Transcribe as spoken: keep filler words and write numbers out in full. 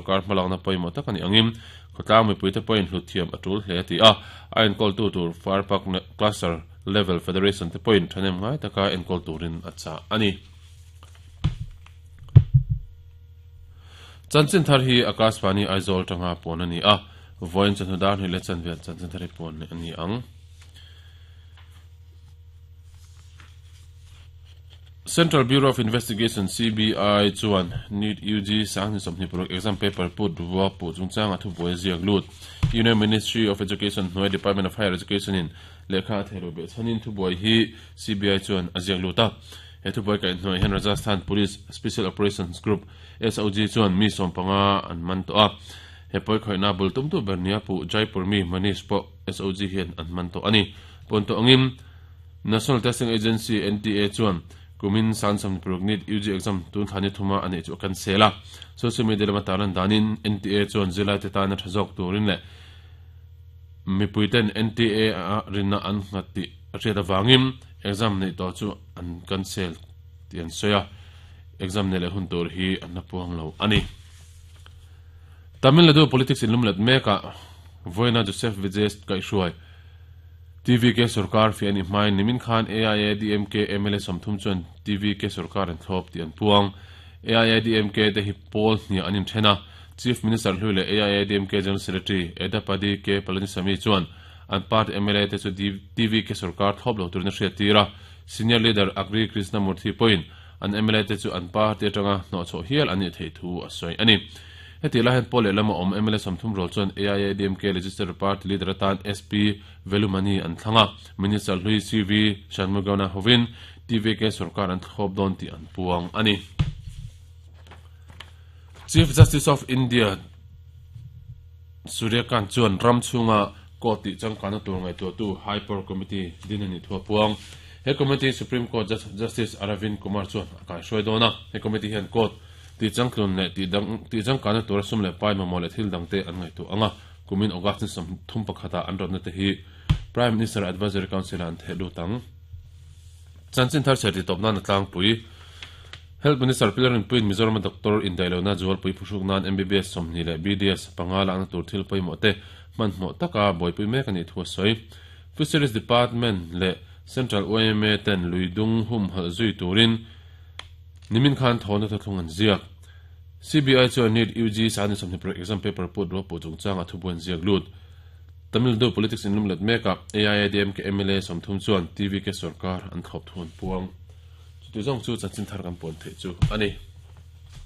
sarkar hmalakna pawimawh tak ani angin khawtlang mipuite pawhin hlut thiam a tul hle ti a a enkawl tu tur Fire Park Cluster Level Federation te pawhin thanem ngai taka enkawl turin a cha ani. Chanchin thar hi Akashvani Aizawl tanga pawn ani a voin chanhu dar ni le chanvel chanchin thar hi pawn ani ang. Central Bureau of Investigation C B I chuan NEET U G sang ni sawmhnih paruk exam paper put ruwa pu chungchang a thubuai ziak lut. Union Ministry of Education hnuai Department of Higher Education in lehkha a theiru beh chhanin thubuai hi C B I chuan a ziak lut a. He thubuai kaih hnuai hian Rajasthan Police Special Operations Group S O G chuan mi sawm panga an man tawh a. He pawi khoihna bul tum tu ber nia pu Jaipur mi Manish pawh S O G hian an man tawh ani. Pawn tawh angin National Testing Agency N T A chuan kumin san sawmhnih paruk NEET U G exam tun thani thuma ani chu kan sela. Social media lama taran danin N T A chuan zilai te tana thazok turin le mipuiten N T A a rinna an ngati riat awangin exam nei to chu an cancel ti an soya exam nei le hun tur hi an na puang lo ani. Tamil Nadu politics in lumlet meka voina Joseph Vijay kai shuai T V K Sarkar fi ani hmai nimin khan A I A D M K M L A samthum chuan T V K Sarkar an thlop ti an puang. A I A D M K te hi pawl hnia anin thena Chief Minister hlui le A I A D M K General Secretary Edappadi K Palaniswami chuan an party M L A te chu T V K Sarkar thlop lo turin a hriat tira. Senior Leader Agri Krishnamurthy point an M L A te chu an party atanga hnawh chhoh hial ani thei thu a sawi ani. Heti la hen pole lama om M L A samthum rol chuan A I A D M K Legislative Party Leader atan S P Velumani an thlanga Minister hlui C V Shanmugana hovin T V K Sarkar an thlop don ti an puang ani. Chief Justice of India Suryakant chuan ram chunga court ti changkana tur ngai tu tu High Power Committee din ani thua puang. He committee Supreme Court Justice Aravind Kumar chuan a kai hruai dawna. He committee hian court ti changtlun le ti dang ti changkana tur sum le pai mamawh le thil dang te an ngai tu anga kumin August ni sawm thum pakhata an rawtna te hi Prime Minister Advisory Council an the lu tang. Chanchin thar cherti tawp nan a tlangpui Health Minister Pilarin Puin Mizoram Doctor Indailona Jual Pui Phusuk nan M B B S sawmhnih le B D S panga la na tur thil pawimawh te hmanhmawh taka buaipui mek ani thu a sawi. Fisheries Department le Central O M A ten luidung hum hal zui turin nimin khan thawna thlung an ziak. C B I chuan NEET U G sani sawmhnih paruk exam paper put ro pu chungchang a thubuan ziak lut. Tamil Nadu politics in lumlet meka A I A D M K M L A sawmthum chuan T V K Sarkar an thlop thuan puang. Chu ti zawng chu chanchin thar kan pawn thei chu ani.